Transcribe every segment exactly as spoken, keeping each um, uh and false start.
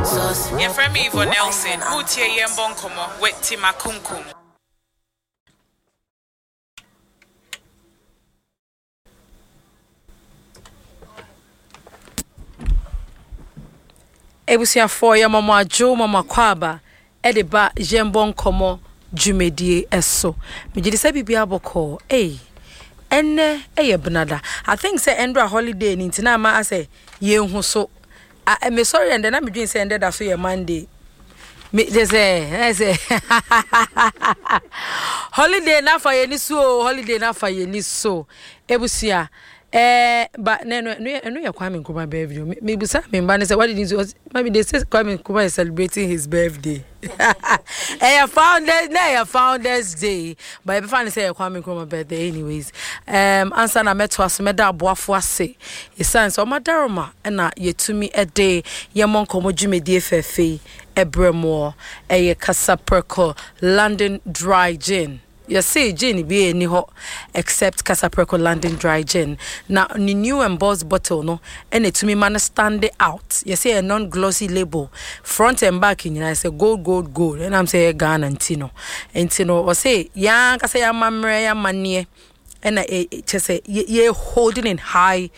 Yɛfrɛ me Yvonne Nelson. Wotie Yɛmbɔ Nkɔmmɔ with Tima Kunkum. Abusuafoɔ, yɛma mo adwo, ma mo akwaaba de ba Yɛmbɔ Nkɔmmɔ dwumadie so. Megye di sɛ biribiara bɔkɔɔ. Ei, ɛnnɛ yɛ benada. I think sɛ ɛndra holiday no nti na ama asɛ yɛnhu so. Ah, mesɔre ɛndɛ na medwene sɛ ɛndɛ da so yɛ Monday. Me kyɛ sɛ ɛyɛ sɛ holiday na afa yɛn ani so o, holiday na afa yɛn ani so. Ebusua, ɛɛ ba na ɛno ɛno yɛ ɛno yɛ Kwame Nkrumah birthday. Me mebusa me mba no sɛ what did you say? Mami, they say Kwame Nkrumah is celebrating his birthday. Ɛyɛ founders na ɛyɛ founders day, but yɛbɛfa no sɛ ɛyɛ Kwame Nkrumah birthday anyways. Um, ansa na mɛtoa so, mɛda aboafo ase. Ɛsiane sɛ ɔma daroma na yɛtumi de yɛmmɔ nkɔmmɔ dwumadie fɛɛfɛ yi ɛbrɛ moɔ. Ɛyɛ Kasaprɛko London Dry Gin. Yɛse gin bi ɛni hɔ except Kasaprɛko London Dry Gin. Na ne new embossed bottle no ɛna ɛtumi ma no stand out. Yɛse ɛyɛ non-glossy label. Front and back nyinaa sɛ gold, gold, gold. Ɛnam sɛ ɛyɛ Ghana nti no. Nti no ɔse yɛn ankasa yɛn amammerɛ, yɛn amanneɛ ɛna kyɛ sɛ yɛ holding in high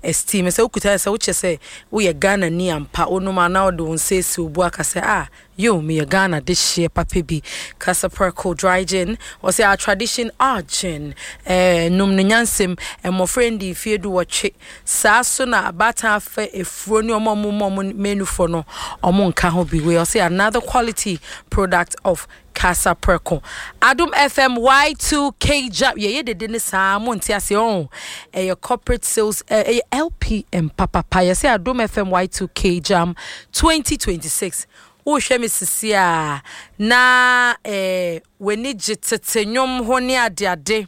esteem. Sɛ wokuta sɛ wokyɛ sɛ woyɛ Ghana ni ampa, wonom a na wode wo nsa esi wo bo aka sɛ ah, yo, meyɛ Ghana de hyeɛ papa bi. Kasaprɛko Dry Gin, wɔsɛ our tradition, our gin. Eh, nom no nyansɛm, mmɔfra ndi mfeɛ du wɔtwe. Saa so na abaatan afɛ efuro ne ɔmo a ɔmo mu ɔmo menufoɔ no, ɔmo nka ho bi. Wei ɔsɛ another quality product of Kasaprɛko. Adom F M Y two K Jam. Yɛyɛ dede ne saa mo nte ase ɔn. Ɛyɛ corporate sales, ɛyɛ L P M papapa. Yɛsɛ Adom F M Y two K Jam twenty twenty-six. Wohwɛ me sisi a na eh, w'ani gye tete nnwom ho ne adeade.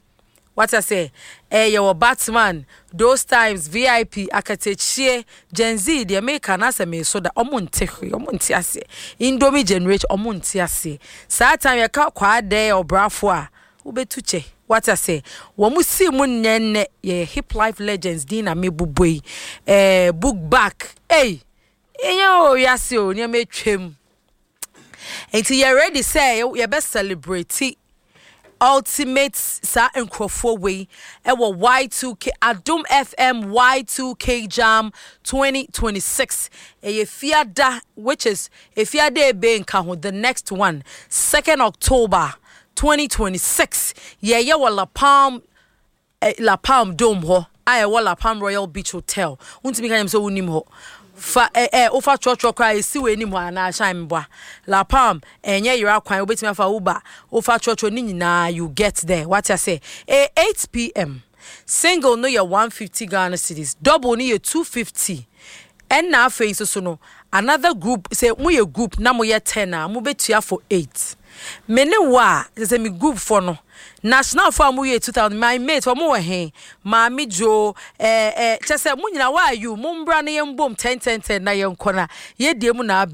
Wata sɛ ɛyɛ wɔ Batman those times, V I P akatakyie, Gen Z deɛ meka na sɛ meso da, ɔmo nte hwee, ɔmo nte aseɛ. Indomie generation, ɔmo nte aseɛ. Saa time yɛka kwaadɛ ɔbrafo a wobɛtu kyɛ. Wata sɛ wɔn si mu nnɛnnɛ yɛyɛ hip life legends din na mebobɔ yi, ɛɛ book back. Ɛy, ɛnyɛ o, wiase o, nneɛma atwam nti yɛ ready sɛ yɛbɛ celebrate ultimate saa nkurɔfoɔ wei ɛwɔ Y two K, Adom F M Y two K Jam twenty twenty-six. Ɛyɛ fiada, which is efiada ebe nka ho, the next one, second October twenty twenty-six. Yɛyɛ wɔ La Palm eh, La Palm Dome hɔ a ɛwɔ La Palm Royal Beach Hotel. Wontumi ka nyɛm sɛ wonim hɔ fa ɛ ɛ wofa trɔtrɔ koraa esi wɔ anim hɔ anaa ahyɛn mboa La Palm. Ɛnyɛ yera kwan, wobɛtumi afa Uber, wofa trɔtrɔ ne nyinaa, you get there. Wate ase? Ɛ eight p m. Single no yɛ one fifty Ghana cedis, double no yɛ two fifty. Ɛnna afei nso so no another group, sɛ moyɛ group na moyɛ ten a, mobɛtua for eight. Me ne wo a sɛ sɛ me group fɔ no, national fo a moyɛ two thousand, my mate ɔmo wɔ he, Maame Jo, ɛɛ ɛɛ kyɛ sɛ mo nyinaa, why are you, mo mbra na yɛn bom ten ten ten na yɛn kɔ na yɛdie mu na.